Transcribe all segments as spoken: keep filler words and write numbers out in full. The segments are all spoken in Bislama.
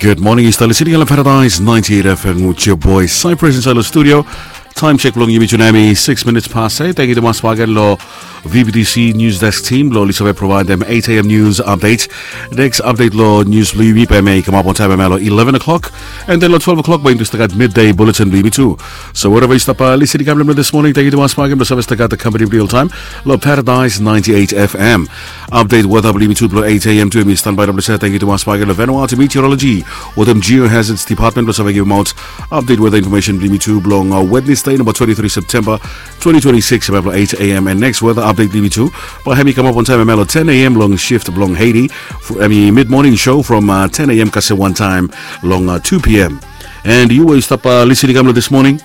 Good morning, yu stap listening long Paradise ninety-eight F M with your boy Cyprus inside the studio. Time check blong yumi tu nau hemi six minutes past eight. Thank you tumas bak gen long V B T C News Desk team blong oli save provaedem eight A M news update. Next update long news blong yumi bae hemi kamap on time hemia long eleven o'clock. And then long twelve o'clock bae yumi tu stap gat midday bulletin blong yumi tu. So wherever yu stap listening kam long this morning, thank you tumas bak gen blong save stap gat the company blong yu oltaem long Paradise ninety-eight F M. Update weather blong yumi tu blong eight A M tu hemi standby long blong save. Thank you tumas bak gen long Vanuatu Meteorology wetem Geohazards Department blong save givimaot update weather information blong yumi tu blong uh, Wednesday, number twenty-three September twenty twenty-six, hemia blong eight A M. And next weather update blong yumi tu bae hemi kamap on time hemia long ten A M long shift blong Haiti. Hemi mid morning show from uh, ten A M kasem wan taem long uh, two P M. And yu we yu stap uh, listening kam long this morning,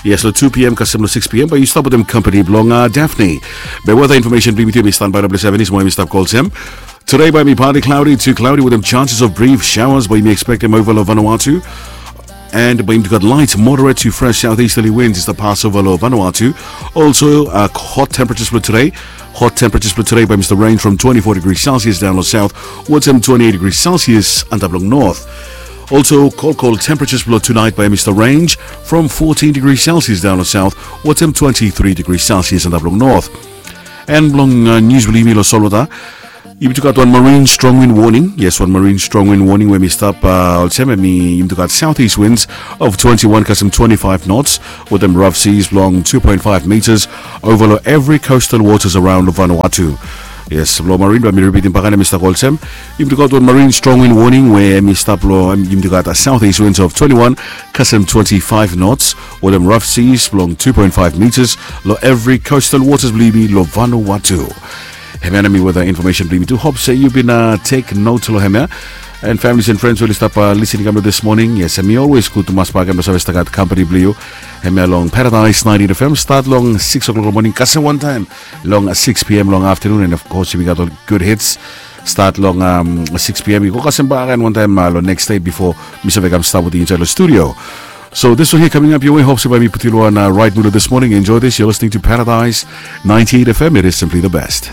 yes, long two P M kasem long six P M bae yu stap wetem company blong uh, Daphne. Be weather information blong yumi tu hemi standby long blong save, hemi stap kolsem. Today bae hemi partly cloudy to cloudy wetem chances of brief showers bae yumi ekspektem ova long Vanuatu. And bae yumi tu gat light moderate to fresh southeasterly winds i stap pas ova long Vanuatu. Also uh, hot temperatures blong today. Hot temperatures blong today bae hemi stap range from twenty-four degrees Celsius daon long south wetem twenty-eight degrees Celsius antap long north. Also, cold, cold temperatures blong tonight bae hemi stap range from fourteen degrees Celsius daon long south wetem twenty-three degrees Celsius antap long north. And blong uh, news blong yumi long solwota, yumi tu gat wan marine strong wind warning. Yes, wan marine strong wind warning we hemi stap uh, olsem, hemi yumi tu gat southeast winds of twenty-one kasem twenty-five knots wetem rough seas blong two point five meters ova long every coastal waters around Vanuatu. Yes, blong marine bae mi ripitim bak gen, hemi stap kolsem. Yumi tu gat wan marine strong wind warning we hemi stap long, yumi tu gat uh, southeast winds of twenty-one kasem twenty-five knots wetem rough seas blong two point five meters long every coastal waters blong yumi long Vanuatu. Hemia nao hemi weather information blong yumi tu. Hope se yu bin uh, take note long hemia. And families and friends we oli stap uh, listening kam long this morning, yes, hemi always gud tumas bak gen blong save stap gat company blong yu hemia long Paradise ninety-eight F M. Stat long six o'clock long morning kasem wan taem long uh, six P M long afternoon. And of course yumi gat ol good hits. Stat long um, six P M i go kasem bak gen wan taem uh, long next day before mi save kam stap wetem yu insaed long studio. So this one here coming up your way, hope se bae mi putum yu long wan uh, right mood this morning. Enjoy this. You're listening to Paradise ninety-eight F M. It is simply the best.